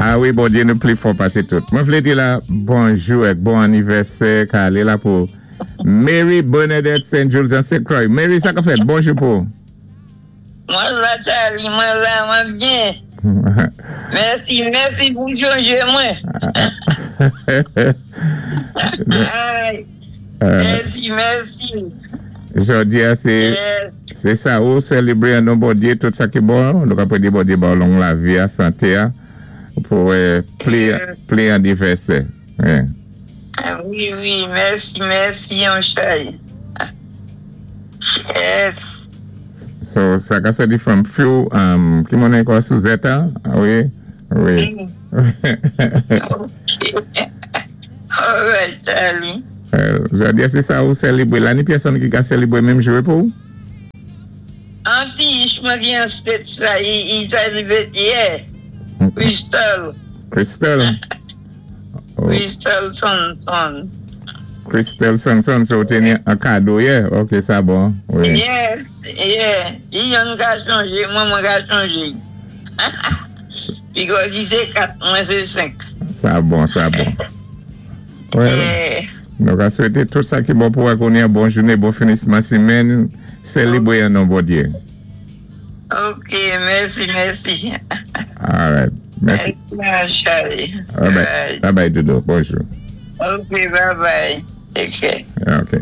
A wi, Bondyé nou pli fò pasé tout. Mwen vlé di la bonjou èk bon anivèsè ka alé la pou Mary Bernadette St. Jules an St. Croix. Mary, sa ka fèt? Bonjou pou ou. Mwen la, Charlie, mwen la, mwen byen. Mèsi, mèsi pou chonjé mwen. Ay, mèsi, mèsi. Jòdi a sé sé sa ou sèlébré an non Bondyé tout sa ki bon, nou ka prédé Bondyé ba ou long lavi a, santé a pou wè pli pli anivèsè. Wi, wi, mèsi, mèsi yon chay. Yes. So sa ka sèdi from few ki moun ankò, Suzette? Wi wi. Alright, Charlie. Jòdi a sé sa ou sèlébré la, ni pyèsonn ki ka sèlébré menm jou pou ou? An ti ich mwen ki an States la, i celebrate yè. Crystal. Crystal. Crystal Sonson. Crystal Sonson, so ou té ni an kado yè, ok, sa bon wi. Yeah, i yonn ka chonjé mwen, mwen ka chonjé. Because i sé 4, mwen sé 5. Sa bon, sa bon. Well, nou ka swété tout sa ki bon pou ou kounye a, bon jouné, bon finisman simenn, sèlébré an non Bondyé. Ok, mèsi, mèsi. Alright, mèsi. Mèsi, Charlie. Bye bye, bye bye, Dodo, bonjou. Ok, bye bye. Take care. Ok.